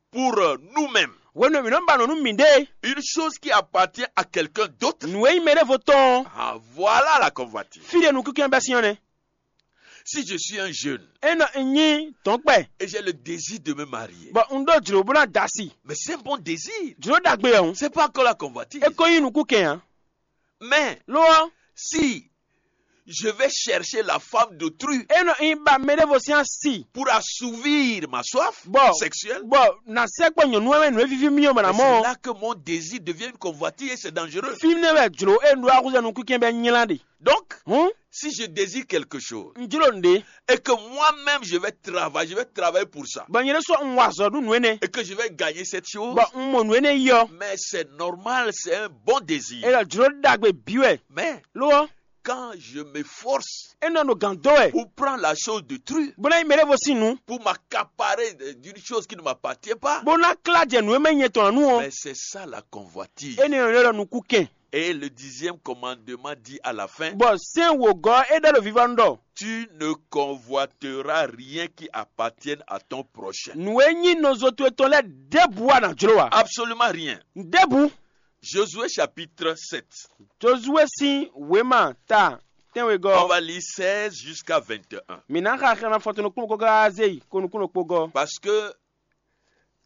pour euh, nous-mêmes Hwenu e mǐ nɔ ba nǔ nú mǐɖée, une chose qui appartient à quelqu'un d'autre, nǔ e nyí mɛ ɖěvo tɔn ɔ́, ah, voilà la convoitise. Fí ɖé nukúnkɛn bɛ́ sín ɔ́ nɛ́. Si je suis un jeune Ényí un nyí dɔ̌nkpɛ, et j'ai le désir de me marier, bɔ un ɖó jlǒ bó ná da asi, mais c'est un bon désir. Jlǒ ɖagbe ɔ́ hǔn, C'est pas encore la convoitise. É ko nyí nukúnkɛn ǎ. Mais Lo ɔ́, si je vais chercher la femme d'autrui é nɔ nyi ba mɛ ɖěvo sín asi pour assouvir ma soif Bon. Sexuelle, bɔ na sɛkpɔ nyɔ̌nu ɛ mɛ nǔ e víví mì ɔ́ bɔ na mais c'est mɔ là que mon désir devient une convoitise et c'est dangereux. Fi nɛ wɛ jlǒ e un ɖó axuza nukúnkɛn bɛ nylá ɖe. Donc, Hǔn, si je désire quelque chose un jló nǔɖé, et que moi-même je vais travailler, je vais travailler pour ça bɔ nyɛ ɖésú un wa azɔ̌ ɖu nǔ énɛ́, et que je vais gagner cette chose, bɔ un mɔ nǔ énɛ́ yi ɔ́, mais c'est normal, c'est un bon désir. é ɖɔ jlǒ ɖagbe bǐ wɛ. Mais Lo ɔ́, quand je m'efforce é nɔ ɖo gǎn dó wɛ, pour prendre la chose d'autrui, bó ná nyí mɛ ɖěvo sín nǔ, pour m'accaparer d'une chose qui ne m'appartient pas, bó ná klá jɛ nǔ e mɛ nyɛ tɔn ǎ nú ɔ́, mais c'est ça la convoitise. énɛ́ ɔ́ ɖɔ nukúnkɛn. Et le dixième commandement dit à la fin, Bɔ sɛ́n wǒgɔ́ é ɖɔ ɖo vivɔnu ɖɔ tu ne convoiteras rien qui appartienne à ton prochain. Nǔ e nyí nɔzo towe tɔn lɛ́ɛ ɖěbǔ wɛ a nǎ jló ǎ. Absolument rien. Ɖěbǔ. Josué chapitre sept. Josué sín wěma ta On tɛ́nwegɔ́. va lire seize jusqu'à vingt et un. Mǐ ná xa xɛmɛ fɔtɔn nukúnnú kóká zé yi ko nukúnnú kpogɔ́. Parce que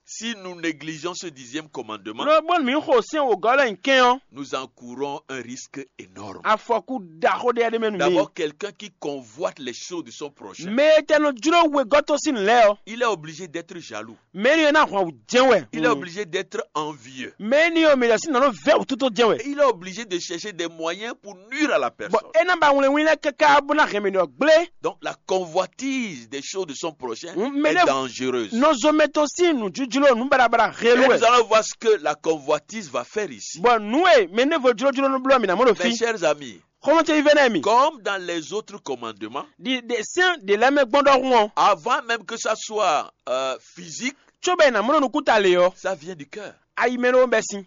si nous négligeons ce dixième commandement, Lɔ bónú mǐ xo sɛ́n wǒgɔ́ lɛ́ɛ nyi kɛn ɔ́, nous encourons un risque énorme. Afɔkú ɖaxó ɖé ɖé mɛ nú mǐ. D'abord, quelqu'un qui convoite les choses de son prochain, Mɛ e tɛ nɔ jló wegɔ́ tɔn sín nǔ lɛ́ɛ ɔ́, il est obligé d'être jaloux. Mɛ énɛ́ ɔ́ ná hwan wǔ jɛ́n wɛ. Il est obligé d'être envieux. Mɛ énɛ́ ɔ́ mɛ ɖɔ sín nǎ nɔ vɛ́ wǔtútú jɛ́n wɛ. Et il est obligé de chercher des moyens pour nuire à la Bɔ personne. É ná ba wlɛnwín lɛ́ɛ káká bó ná hɛn mɛ ɖɔ gblé. Donc la convoitise des choses de son prochain Mm, mais est là- dangereuse. Nɔzɔmɛ tɔn sín nǔjújló nǔ baɖabaɖa Et helu nous wɛ. Allons voir ce que la convoitise va faire ici. Bɔ nǔ e mɛ ɖěvo jlójló nɔ bló mǐ ná mɔ ɖo Mes fí. Chers amis, Xɔmɔtɔ yi vɛ nɛ mi. Comme dans les autres commandements, Ɖi ɖe sɛ́n ɖe lɛ́ɛ mɛ gbɔn ɖɔhun ɔ́, avant même que ça soit euh, physique, tso bɛ ná mɔ ɖo nukúta lě ɔ́, ça vient du cœur. Ayi mɛ ɖó bɛ sin.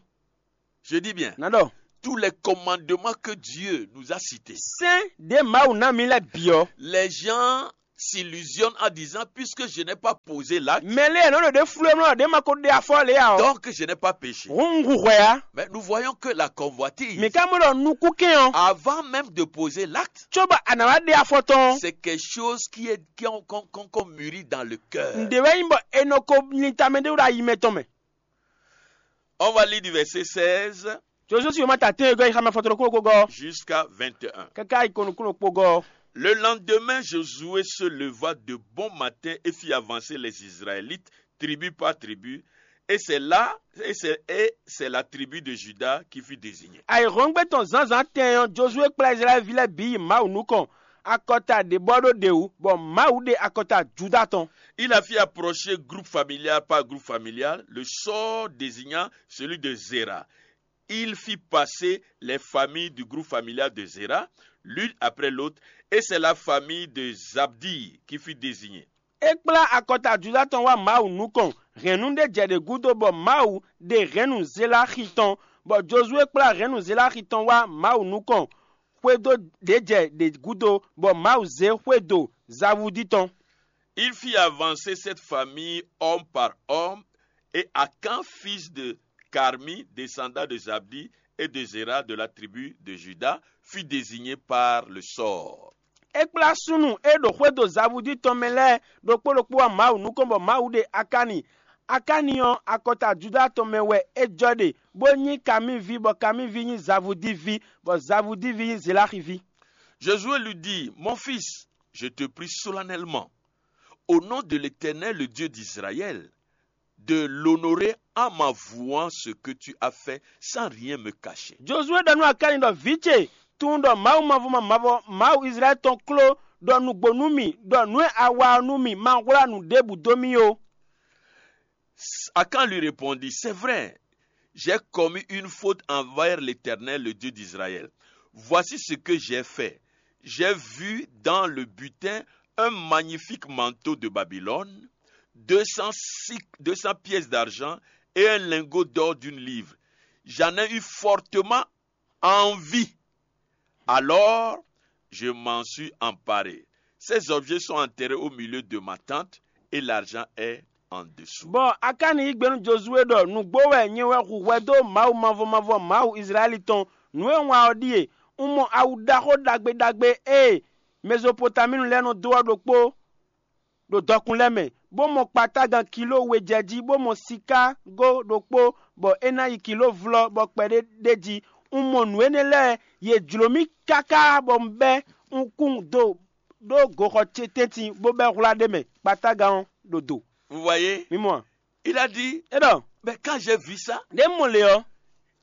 Je dis bien, Ná ɖɔ tous les commandements que Dieu nous a cités, sɛ́n ɖě Mawu ná mi lɛ́ɛ bǐ ɔ́, les gens s'illusionnent en disant, puisque je n'ai pas posé l'acte, mɛ lé nɔ ɖo ɖě flú ɛ mlɔ ɖě ma ko ɖe afɔ lě ya ɔ́. Donc je n'ai pas péché. Hǔn un hu hwɛ á. Mais nous voyons que la convoitise, Mi ka mɔ ɖɔ nukúnkɛn ɔ́, avant même de poser l'acte, tso bɔ a nǎ wá ɖe afɔ tɔn ɔ́. C'est quelque chose qui est qui on, qu'on, qu'on- qu'on mûrit dans le cœur. Ǹdě wɛ nyí bɔ è nɔ ko linta mɛ ɖé ɖo ayi mɛ tɔn mɛ. On va lire du verset seize Josué si wěma ta tɛ́n e gɔ́ yi xamɛ fɔtɔnɔ kúlokúlokɔ jusqu'à vingt et un. Káká yi ko nukúnnú kpogɔ́. Le lendemain, Josué se leva de bon matin et fit avancer les Israélites, tribu par tribu. Et c'est là, et c'est, et c'est la tribu de Juda qui fut désignée. Ayǐhɔ́ngbe tɔn zǎnzǎn tɛn ɔ́, Josué kplá Izlayɛ́li ví lɛ́ɛ bǐ yi Mawu nukɔn, akɔta ɖě bɔ ɖó ɖě wú, bɔ Mawu ɖe akɔta Juda tɔn. Il a fait approcher groupe familial par groupe familial le sort désignant celui de Zéra. Il fit passer les familles du groupe familial de Zéra, l'une après l'autre, et c'est la famille de Zabdi qui fut désignée. É kplá akɔta Juda tɔn wá Mawu nukɔn, hɛ̌nnu ɖé jɛ ɖě gúdo bɔ Mawu ɖe hɛ̌nnu Zelaxi tɔn, bɔ Josué kplá hɛ̌nnu Zelaxi tɔn wá Mawu nukɔn, xwedó ɖě jɛ ɖě gúdo bɔ Mawu zé xwedó Zavudi tɔn. Il fit avancer cette famille homme par homme, et Akan, fils de Carmi, descendant de Zabdi et de Zéra de la tribu de Juda, fut désigné par le sort. É kplá súnnu e ɖo xwedó Zavudi tɔn mɛ lɛ́ɛ ɖokpó ɖokpó wá Mawu nukɔn bɔ Mawu ɖe Akani. Akani ɔ́, akɔta Juda tɔn mɛ wɛ é jɔ ɖe, bó nyí Kami ví, bɔ Kami ví nyí Zavudi ví, bɔ Zavudi ví nyí Zelaxi ví. Josué lui dit, mon fils, je te prie solennellement, au nom de l'Éternel, le Dieu d'Israël, de l'honorer en m'avouant ce que tu as fait sans rien me cacher. Josué ɖɔ nú Akani ɖɔ, vǐ ce, tunwun ɖɔ Mawu mavɔ mavɔ, Mawu Izlayɛ́li tɔn kló ɖɔ nǔgbó nú mì, ɖɔ nǔ e a wa ɔ́ nú mì ma hwlá nǔ ɖěbǔ dó mì ó. Akan lui répondit, c'est vrai, j'ai commis une faute envers l'Éternel, le Dieu d'Israël. Voici ce que j'ai fait. J'ai vu dans le butin un magnifique manteau de Babylone, deux cents, sik- deux cents pièces d'argent et un lingot d'or d'une livre. J'en ai eu fortement envie. Alors, je m'en suis emparé. Ces objets sont enterrés au milieu de ma tente et l'argent est en dessous. Bɔ Akani yí gbe nú Josué ɖɔ, nǔgbó wɛ nyɛ wɛ hu hwɛ dó Mawu mavɔ mavɔ, Mawu Izlayɛ́li tɔn. Nǔ e un wa ɔ́ ɖíe: un mɔ awu ɖaxó ɖagbe ɖagbe e Mezopotaminu lɛ́ɛ nɔ dó ɔ́ ɖokpó ɖo dɔkun lɛ́ɛ mɛ, bó mɔ kpatágan kiló we jɛ jí, bó mɔ sikágo ɖokpó, bɔ é ná yi kiló vlɔ́, bɔ kpɛɖé ɖ'é jí. Un mɔ nǔ énɛ́ lɛ́ɛ, yě jló mì káká bɔ un bɛ́ un kún do ɖó goxɔ ce tɛ́ntin bó bɛ́ hwlá ɖ'é mɛ kpatágan ɔ́ ɖo do. Vous voyez? Mi mɔ a? Il a dit, é ɖɔ, mais quand j'ai vu ça, ɖě un mɔ lě ɔ́,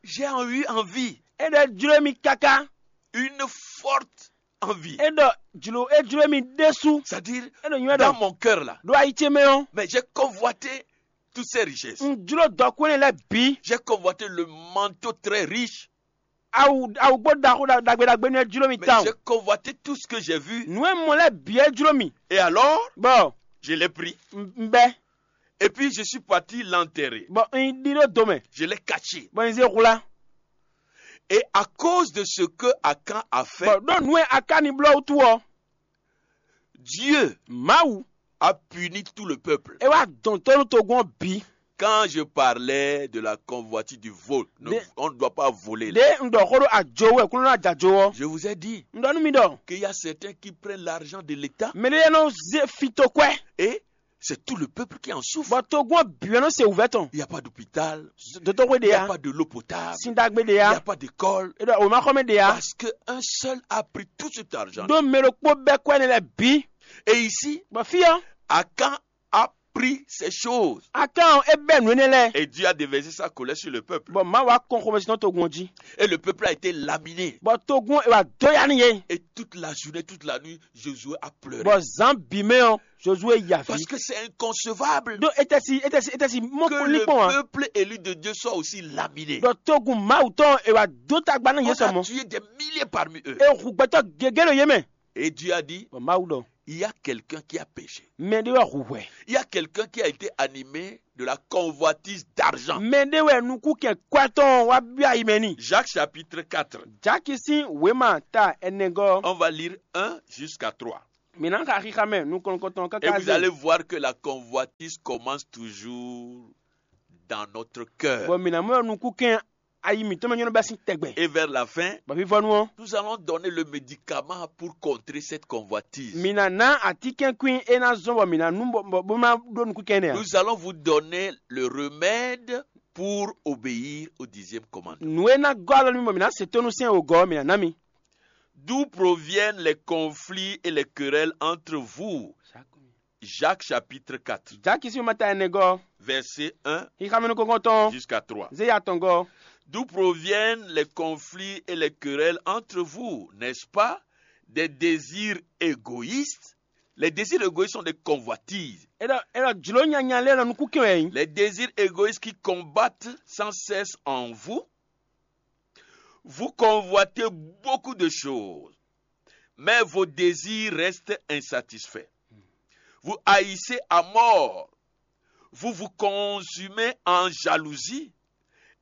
j'ai eu envie, é ɖɔ é jló mì káká. Une forte envie. É ɖɔ jló é jló mì ɖésú. C'est-à-dire, é ɖo nywɛ́ dans ɖɔ mon cœur là, ɖo ayi ce mɛ ɔ́, mais j'ai convoité toutes ces richesses. Un jló dɔkú énɛ́ lɛ́ɛ bǐ. J'ai convoité le manteau très riche. Awu awugbó ɖaxó ɖa- ɖagbe ɖagbe nú é jló mì Mais tawun. J'ai convoité tout ce que j'ai vu. Nǔ e un mɔ lɛ́ɛ bǐ é jló mì. Et alors, Bɔ je l'ai pris. Un un bɛ́. Et puis je suis parti l'enterrer. Bɔ un yi ɖi ɖó do mɛ. Je l'ai caché. Bɔ un zé hwlá. Et à cause de ce que Akan a fait, Bɔ ɖó nǔ e Akáni bló wútu ɔ́, Dieu Mawu a puni tout le peuple. É wá dɔn tó nú togun ɔ́ bǐ. Quand je parlais de la convoitise du vol, ne- Des- on ne doit pas voler. Ɖě un ɖɔ xó ɖó ajo wɛ kúnnu ná jajo ɔ́. Je vous ai dit Un ɖɔ nú mi ɖɔ qu'il y a certains qui prennent l'argent de l'État mɛ ɖé nɔ zé fito kwɛ́. Et c'est tout le peuple qui en souffre. Bɔ togun ɔ́ bǐ wɛ nɔ se wǔvɛ́ tɔn. Il n'y a pas d'hôpital. Dotɔxwe Il n'y a ɖe pas de l'eau potable. Sin ɖagbe ɖe Il n'y a pas d'école. Eɖɔ wòmaxɔmɛ ɖe ya. Parce qu'un seul a pris tout cet argent. Ɖó mɛ ɖokpó bɛ́ kwɛ́ nɛ lɛ́ɛ bǐ. Et ici, Bɔ fí ɔ́, Akan a pris ces choses. Akan ɔ́ é bɛ́ nǔ énɛ́ lɛ́ɛ. Et Dieu a déversé sa colère sur le peuple. Bɔ Mawu wá kɔn xomɛsin tɔn togun ɔ́ jí. Et le peuple a été laminé. Bɔ togun ɔ́ é wá dó ya n'i yé. Et toute la journée, toute la nuit, Josué a pleuré. Bɔ zǎn bǐ mɛ ɔ́, Josué ya Parce fí. Que c'est inconcevable Ɖó é tɛ́ si é tɛ́ si é tɛ́ si mɔ que kún ní le kpɔ́n ǎ. Peuple élu de Dieu soit aussi laminé. Ɖɔ togun Mawu tɔn é wá dó tagba nú yě On a sɔmɔ. Tué des milliers parmi eux. É hu gbɛtɔ́ gěgé ɖo yé mɛ. Et Dieu a dit, Bɔ Mawu ɖɔ, il y a quelqu'un qui a péché. Mɛ ɖé wɛ hu hwɛ. Il y a quelqu'un qui a été animé de la convoitise d'argent. Mɛ ɖé wɛ nukúnkɛn kwɛ́ tɔn wá byɔ́ ayi mɛ n'i. Jacques chapitre quatre. Jaki sín wěma ta ɛnɛgɔ́. On va lire un jusqu'à trois. Mǐ ná xa xixa mɛ nukɔn nukɔntɔn Et káká vous allez voir que la convoitise commence toujours dans notre cœur. Bɔ mǐ ná mɔ nukúnkɛn ayi mǐtɔn mɛ nyɔ́ bɛ́ sín tɛgbɛ. Et vers la fin, Bɔ fífɔ́nú ɔ́, nous allons donner le médicament pour contrer cette convoitise. Mǐ ná ná atínkɛnkwín é ná zɔ́n bɔ mǐ ná nú bɔ bɔ- bó ná ɖó nukúnkɛn énɛ́ ǎ. Nous allons vous donner le remède pour obéir au dixième commandement. Nǔ e ná gɔ́ alɔ nú mi bɔ mǐ ná se tónú sɛn wǒgɔ́ ɔ́, mǐ ná ná mi. D'où proviennent les conflits et les querelles entre vous? Jacques chapitre quatre, Jaki sín wěma ta ɛnɛgɔ́, verset un xixa mɛ nukɔntɔn tɔn, jusqu'à trois. Zé ya tɔn gɔ́. D'où proviennent les conflits et les querelles entre vous, n'est-ce pas? Des désirs égoïstes. Les désirs égoïstes sont des convoitises. É ɖɔ é ɖɔ jlǒ nyanya lɛ́ɛ nɔ nukúnkɛn wɛ nyí. Les désirs égoïstes qui combattent sans cesse en vous. Vous convoitez beaucoup de choses, mais vos désirs restent insatisfaits. Vous haïssez à mort. Vous vous consumez en jalousie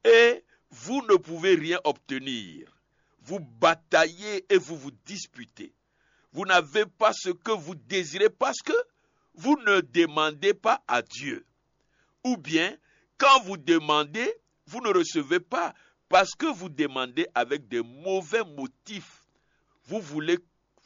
et vous ne pouvez rien obtenir. Vous bataillez et vous vous disputez. Vous n'avez pas ce que vous désirez parce que vous ne demandez pas à Dieu. Ou bien, quand vous demandez, vous ne recevez pas parce que vous demandez avec des mauvais motifs. Vous voulez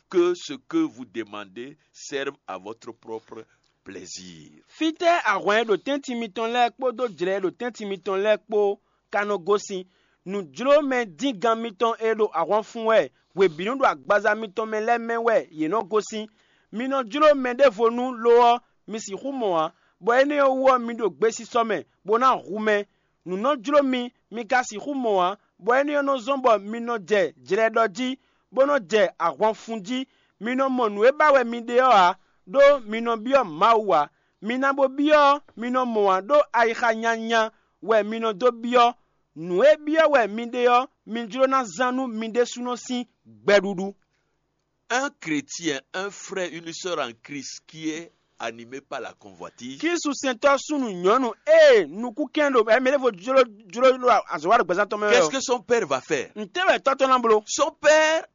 que ce que vous demandez serve à votre propre plaisir. Fítɛ́ ahwan e ɖo tɛ́ntin mitɔn lɛ́ɛ kpódó jlɛ̌ e ɖo tɛ́ntin mitɔn lɛ́ɛ kpó ka nɔ gosín. Nǔjlómɛdíngan mitɔn e ɖo ahwan fun wɛ hwebǐnu ɖo agbaza mitɔn mɛ lɛ́ɛ mɛ wɛ yě nɔ gosín. Mi nɔ jló mɛ ɖěvo nú lo ɔ́, mi sixú mɔ ǎ, bɔ énɛ́ ɔ́ wú ɔ́, mi ɖo gbesisɔ mɛ, bó ná hu mɛ. Nǔ nɔ jló mi, mi ka sixú mɔ ǎ, bɔ énɛ́ ɔ́ nɔ zɔ́n bɔ mi nɔ jɛ jlɛ ɖɔ jí, bó nɔ́ jɛ ahwan fun jí. Mi nɔ mɔ nǔ e ba wɛ mi ɖe ɔ́ ǎ, ɖó mi nɔ byɔ́ Mawu ǎ. Mi ná bo byɔ́ ɔ́, mi nɔ mɔ ǎ, ɖó ayixa nyanya wɛ mi nɔ dó byɔ́. Nǔ e byɔ́ wɛ mi ɖe ɔ́, mi jló ná zán nú mi ɖésúnɔ sín gbɛɖuɖu. Un chrétien, un frère, une sœur en Christ qui est animé par la convoitise. Klísu sɛntɔ́ súnnu nyɔ̌nu ée nukúnkɛn ɖo ɛmɛ ɖěvo jló jló ɖo azɔ̌ wa ɖo gbɛzán tɔn mɛ wɛ Qu'est-ce ɔ́, que son père va faire? Ntɛ́ wɛ tɔ́ tɔn ná bló? Son père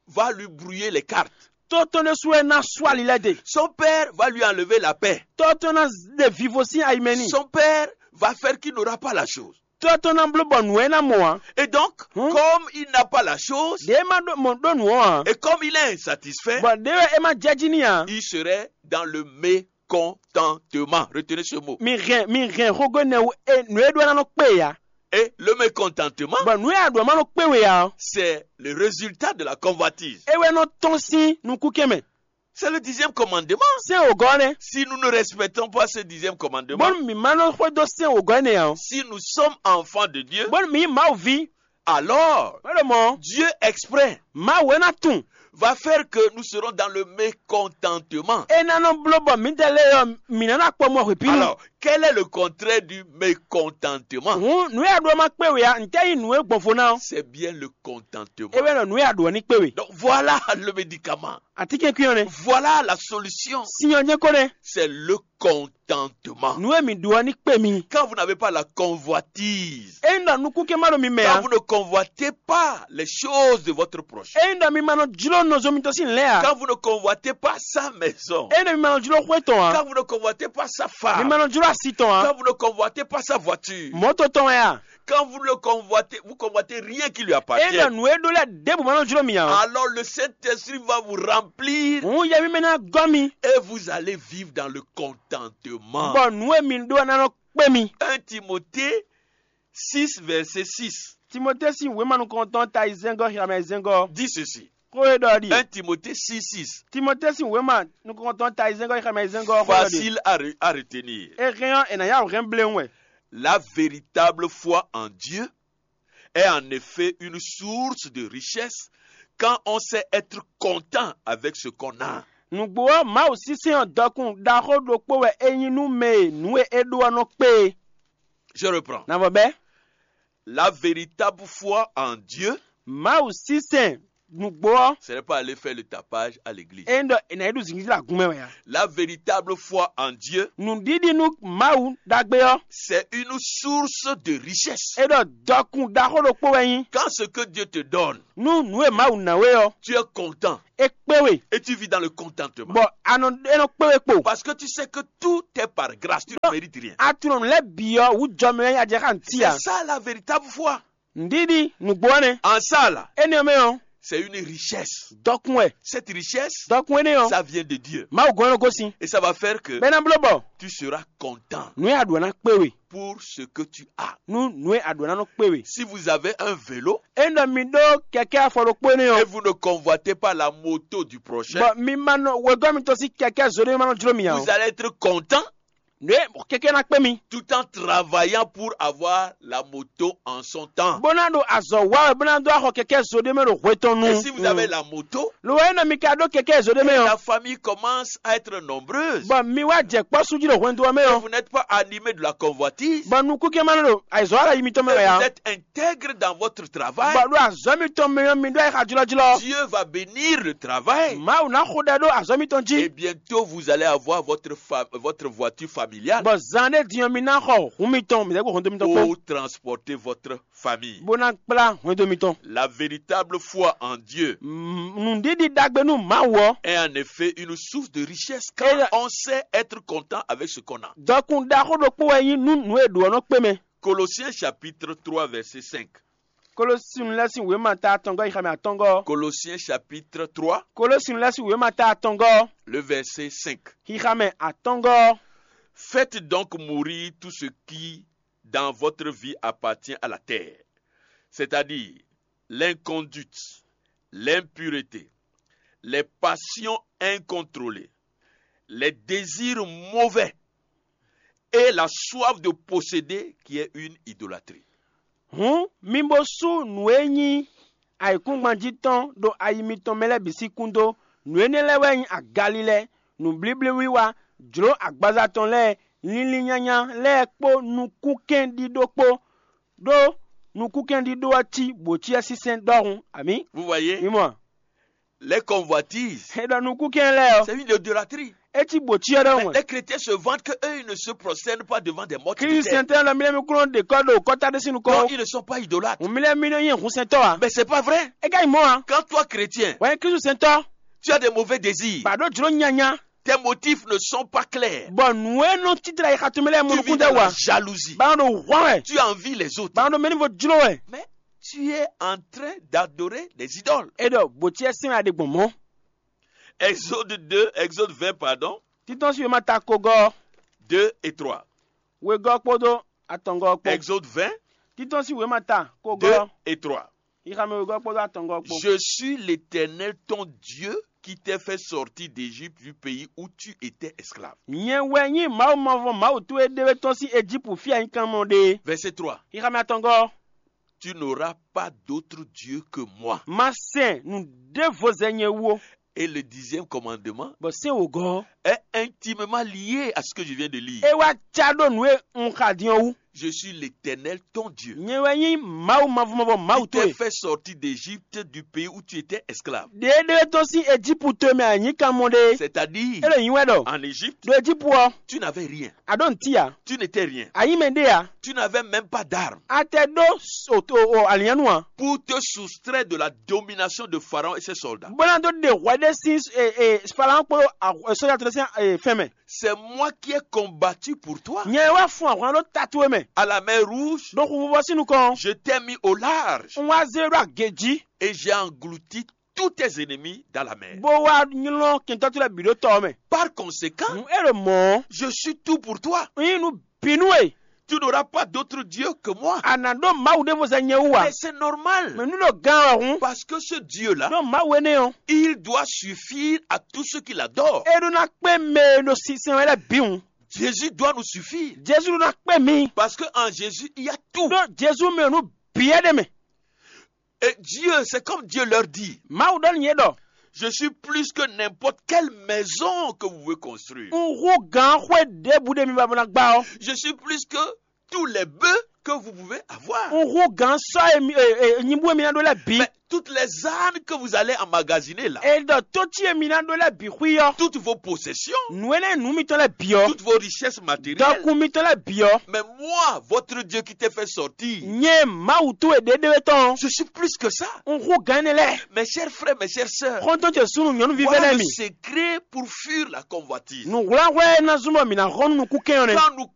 va lui brouiller les cartes. Tɔ́ tɔn ɖésú wɛ ná sú ali lɛ́ɛ de. Son père va lui enlever la paix. Tɔ́ tɔn ná ɖe vivo sín ayi mɛ n'i. Son père va faire qu'il n'aura pas la chose. Tɔ́ tɔn ná bló bɔ nǔ wɛ é ná mɔ ǎ. Et donc, Hmm? Comme il n'a pas la chose, Ɖě é má ɖó mɔ ɖó nǔ ɔ́ ǎ. Et comme il est insatisfait, Bɔ ɖě wɛ é má jɛ jí n'i ǎ. Il serait dans le mécontentement. Retenez ce mot. Mi hɛn mi hɛn xógó nɛ wú e nǔ e ɖó ná nɔ kpé ya. Et le mécontentement, Bɔ nǔ e a ɖu ɔ́ ma nɔ kpé we ǎ ɔ́, c'est le résultat de la convoitise. É wɛ nɔ tɔ́n sín nukúnkɛn mɛ. C'est le dixième commandement. Sɛ́n wǒgɔ́ ɔ́ nɛ́. Si nous ne respectons pas ce dixième commandement, Bónú mǐ ma nɔ xwedó sɛ́n wǒgɔ́ énɛ́ ǎ ɔ́, si nous sommes enfants de Dieu, bónú mǐ nyí Mawu ví, alors bó ɖo mɔ̌ ɔ́, Dieu exprès Mawu é ná tunwun. va faire que nous serons dans le mécontentement. É ná nɔ bló bɔ mǐdɛɛ lɛ́ɛ ɔ́, mǐ ná ná kpɔ mɔ hwepínu. Alors, quel est le contraire du mécontentement? Hǔn nǔ e a ɖu ɔ́ ma kpé we ǎ, ntɛ́ nyí nǔ e gbɔnvo ná ɔ́? C'est bien le contentement. É wɛ nɔ nǔ e a ɖu ɔ́ ní kpé we. Donc voilà le médicament. Atínkɛnkwín ɔ́ nɛ́. Voilà la solution. Sin ɔ́ jɛ́n ko nɛ́. C'est le contentement. Nǔ e mǐ ɖu ɔ́ ní kpé mi. Quand vous n'avez pas la convoitise, Ényí ɖɔ nukúnkɛn ma ɖo mi mɛ quand ǎ. Vous ne convoitez pas les choses de votre prochain, Ényí ɖɔ mi ma nɔ jló nɔzo mitɔn sín lɛ̌ ǎ. Quand vous ne convoitez pas sa maison, Ényí ɖɔ mi ma nɔ jló xwé tɔn ǎ. Quand vous ne convoitez pas sa Mi ma femme, nɔ jló asi tɔn ǎ. Quand vous ne convoitez pas sa voiture, Mɔ̌to tɔn wɛ a? Quand vous le convoitez, vous convoitez rien qui lui Ényí appartient, ɖɔ nǔ e ɖó lɛ́ɛ ɖěbǔ ma nɔ jló mi ǎ. Alors le Saint-Esprit va vous remplir Hǔn yɛ mímɛ́ ná gɔ́ mi. Et vous allez vivre dans le contentement. Bɔ nǔ e mi ɖó ɔ́ ná nɔ kpé mi. Un Timothée six, verset six. Timotée sín wěma nukɔntɔn ta yi zɛ́ngɔ́ xyamɛ zɛ́ngɔ́. Dis ceci. Xó e ɖɔ ɖi. Un Timothée six, six. Timotée sín wěma nukɔntɔn ta yi zɛ́ngɔ́ xyamɛ zɛ́ngɔ́ xó e ɖɔ ɖi. Facile à, re- à retenir. É hɛn ɔ́, è nǎ yá wǔ hɛn bléwún wɛ. La véritable foi en Dieu est en effet une source de richesse quand on sait être content avec ce qu'on a. Nǔgbó ɔ́, Mawu sínsɛ́n ɔ́ dɔkun ɖaxó ɖokpó wɛ é nyí nú mɛ e nǔ e é ɖó ɔ́ nɔ kpé é. Je reprends. Navɔ bɛ́. La véritable foi en Dieu Mawu sínsɛ́n nǔgbó ɔ́, ce n'est pas aller faire le tapage à l'église. É ɖɔ è nǎ yi ɖu zǐngízí ɖo agun mɛ wɛ ǎ. La véritable foi en Dieu Nǔɖiɖi nú Mawu ɖagbe ɔ́, c'est une source de richesse. É ɖɔ dɔkun ɖaxó ɖokpó wɛ nyí. Quand ce que Dieu te donne, Nú nǔ e Mawu ná we ɔ́, tu es content é kpé we, et tu vis dans le contentement. Bɔ a nɔ é nɔ kpé we kpo. Parce que tu sais que tout est par grâce, tu ne mérites rien. A tunɔ nǔ lɛ́ɛ bǐ ɔ́ wǔ jɔ mɛ wɛ nyí a jɛ xá ntí ǎ. C'est ça la véritable foi. Ŋɖíɖí nǔgbó ɔ́ nɛ́. En ça là, Énɛ́ ɔ́ mɛ ɔ́, c'est une richesse. Dɔkun wɛ. Cette richesse, Dɔkun énɛ́ ɔ́, Ça vient de Dieu. Mawu gɔ́n nɔ gosín. Et ça va faire que Bɛ́ ná bló bɔ tu seras content nǔ e a ɖu ɔ́ ná kpé we. Pour ce que tu as. Nú nǔ e a ɖu ɔ́ ná nɔ kpé we. Si vous avez un vélo Ényí ɖɔ mi ɖó kɛkɛ́ afɔ ɖokpó énɛ́ et ɔ́, vous ne convoitez pas la moto du prochain, bɔ mi ma nɔ wegɔ́ mitɔn sín kɛkɛ́ zo ɖé ma nɔ jló mi ǎ. Vous allez être content Nǔ e kɛkɛ́ ná kpé mi. Tout en travaillant pour avoir la moto en son temps. Bó ná ɖo azɔ̌ wa wɛ bó ná dó axɔ kɛkɛ́ zo ɖé mɛ ɖo hwe tɔn nu. Et si vous avez la moto, Lo wɛ nɔ mi ka ɖó kɛkɛ́ zo ɖé mɛ ɔ́. La famille commence à être nombreuse. Bɔ mi wá jɛ kpɔ́ sú jí ɖo hwɛndo ɔ́ mɛ ɔ́. Vous n'êtes pas animé de la convoitise. Bɔ nukúnkɛn ma nɔ ɖo ayizɔ́ ala yi mitɔn mɛ wɛ ǎ. Vous êtes intègre dans votre travail. Bɔ ɖo azɔ̌ mitɔn mɛ ɔ́ mi ɖó ayixa jlɔ́jlɔ́. Dieu va bénir le travail. Mawu ná xo ɖɛ ɖó azɔ̌ mitɔn jí. Et bientôt vous allez avoir votre, fa- votre voiture familiale. Bɔ zan ɖé din ɔ́ mi ná xɔ hun mitɔn mi dɛ́ kpo hɔndo mitɔn kpó. Pour transporter votre famille. Bó ná kplá hwendo mitɔn. La véritable foi en Dieu Nǔɖiɖi ɖagbe nú Mawu ɔ́. Est en effet une source de richesse quand on sait être content avec ce qu'on a. Dɔkun ɖaxó ɖokpó wɛ nyí nú nǔ e ɖǒ ɔ́ nɔ kpé mɛ. Colossiens chapitre trois, verset cinq. Kolosinu lɛ́ɛ sín wěma ta atɔngɔ́ xixamɛ atɔngɔ́. Colossiens chapitre trois, Kolosinu lɛ́ɛ sín wěma ta atɔngɔ́ le verset cinq. Xixamɛ atɔngɔ́. Faites donc mourir tout ce qui dans votre vie appartient à la terre, c'est-à-dire l'inconduite, l'impureté, les passions incontrôlées, les désirs mauvais et la soif de posséder qui est une idolâtrie. Hǔn mi bo sú nǔ e nyí ayǐkúngban jí tɔn ɖo ayi mitɔn mɛ lɛ́ɛ bǐ sín kún dó. Nǔ énɛ́ lɛ́ɛ wɛ nyí agalilɛ, nǔblíblíwiwa, jlǒ agbaza tɔn lɛ́ɛ, linlin nyanya lɛ́ɛ kpó nukúnkɛn ɖíɖó kpó. Ɖó nukúnkɛn ɖíɖó ɔ́ cí bǒcyɛ́sínsɛ́n ɖɔhun. Amǐ. Vous voyez, Mi mɔ a? Les convoitises, É ɖɔ nukúnkɛn lɛ́ɛ ɔ́, c'est une idolâtrie. É cí bǒcyɛ́ ɖɔhun. Mais les chrétiens se vantent que eux, ils ne se prosternent pas devant des morts. Klísu sɛntɛ́ lɔ mílíɔ́ mi kúnɔ ɖe kɔ́ ɖo kɔ́ta ɖé sín nukɔn. Non, ils ne sont pas idolâtres. Hǔn mílíɔ́ mi nɔ nyí hǔnsɛntɔ́ ǎ. Mais c'est pas vrai. É ka nyí mɔ̌ ǎ. Quand toi, chrétien, Wɛn Klísu sɛntɔ́, Tu as des mauvais désirs. Ba ɖó jlǒ nyanya. Tes motifs ne sont pas clairs. Bɔ nǔ e nɔ títlɛ yi xatumɛ lɛ́ɛ mɔ Tu vis nukún dans dɛ la wa. Jalousie. Ba nɔ ɖo hwán wɛ. Tu envies les autres. Ba nɔ ɖo mɛ ní vo jló wɛ. Mais tu es en train d'adorer des idoles. É ɖɔ bǒcyɛ́ sín wɛ a ɖe gbɔn mɔ̌. Exode deux, Exode vingt, pardon. Títɔ́n sí wěma ta kogɔ́. Deux et trois. Wegɔ́ kpódó atɔngɔ́ kpó. Exode vingt. Títɔ́n sín wěma ta ko deux gɔ́ et trois. Xixamɛ wegɔ́ kpódó atɔngɔ́ kpó. Je suis l'Éternel ton Dieu qui t'a fait sortir d'Égypte, du pays où tu étais esclave. Nyɛ wɛ nyí Mawu mavɔ Mawu towe ɖé wɛ tɔn sín Ejípu fí anyíkanmɔ ɖe. Verset trois. Xixamɛ atɔngɔ́. Tu n'auras pas d'autre Dieu que moi. Ma sɛn nǔ ɖěvo zɛ nyɛ wú ó. Et le dixième commandement Bɔ sɛ́n wǒgɔ́ ɔ́, est intimement lié à ce que je viens de lire. É wá cá ɖó nǔ e un xa din ɔ́ wú. Je suis l'Éternel ton Dieu. Nyɛ wɛ nyí Mawu mavɔmavɔ Mawu Qui t'ai towe. Fait sortir d'Égypte, du pays où tu étais esclave. Ɖě ɖé tɔn sín Ejípu towe mɛ anyǐkánmɔ ɖe. C'est-à-dire É ɖo nyí wɛ ɖɔ. En Égypte, Ɖo Ejípu ɔ́, tu n'avais rien. A ɖó ntí ǎ. Tu n'étais rien. Ayi mɛ ɖé ǎ. Tu n'avais même pas d'armes. A tɛ ɖó alianu ǎ. Pour te soustraire de la domination de Pharaon et ses soldats. Bó ná dó ɖe hwɛ ɖé sín Falawo kpódó sɔ́ja tɔn sín fɛn mɛ. C'est moi qui ai combattu pour toi. Nyɛ wɛ fun ahwan ɖó ta towe mɛ. À la mer Rouge, ɖo xuvuvɔ sín nukɔn. Je t'ai mis au large. Un wá zé ɖó agě jí. Et j'ai englouti tous tes ennemis dans la mer. Bó wá nylɔ́ kɛntɔ́ towe lɛ́ɛ bǐ ɖó tɔ ɔ́ mɛ. Par conséquent, un é ɖo mɔ̌. Je suis tout pour toi. Un nyí nǔ bǐ nú we. Tu n'auras pas d'autre Dieu que moi. A nǎ ɖó Mawu ɖěvo zɛ nyɛ wú ǎ. Mais c'est normal. Mɛ nú ɖo gán wɛ hǔn. Parce que ce Dieu-là, Ɖó Mawu énɛ́ ɔ́, il doit suffire à tous ceux qui l'adorent. É ɖó ná kpé mɛ e ɖo sinsɛn wɛ lɛ́ɛ bǐ hǔn. Jésus doit nous suffire. Jezu ɖó ná kpé mi. Parce que en Jésus, il y a tout. Ɖó Jezu mɛ nǔ bǐ wɛ ɖ'é mɛ. Et Dieu, c'est comme Dieu leur dit. Mawu ɖɔ nú yě ɖɔ. Je suis plus que n'importe quelle maison que vous pouvez construire. Un hu gǎn xwé ɖěbǔ ɖé mi ba ná gbá ɔ́. Je suis plus que tous les bœufs que vous pouvez avoir. Un hu gǎn sɔ́ e mi e e nyibú e mi ná ɖó lɛ́ɛ bǐ. Mais toutes les ânes que vous allez emmagasiner là. E ɖɔ tó cí e mi ná ɖó lɛ́ɛ bǐ xwí ɔ́. Toutes vos possessions. Nǔ énɛ́ nǔ mitɔn lɛ́ɛ bǐ ɔ́. Toutes vos richesses matérielles. Dɔkun mitɔn lɛ́ɛ bǐ ɔ́. Mais moi, votre Dieu qui t'ai fait sortir. Nyɛ Mawu towe ɖěɖéwé tɔn. Je suis plus que ça. Un hu gǎn énɛ́ lɛ́ɛ. Mes chers frères, mes chères sœurs. Xɔ́ntɔn ce súnnu nyɔ̌nuví vɛ́ lɛ́ɛ mi. Voilà le secret pour fuir la convoitise. Nǔhwlánhwlɛ́ e ná zɔ́n bɔ mǐ ná hɔn nú nukúnkɛn ɔ́ nɛ́. Quand nous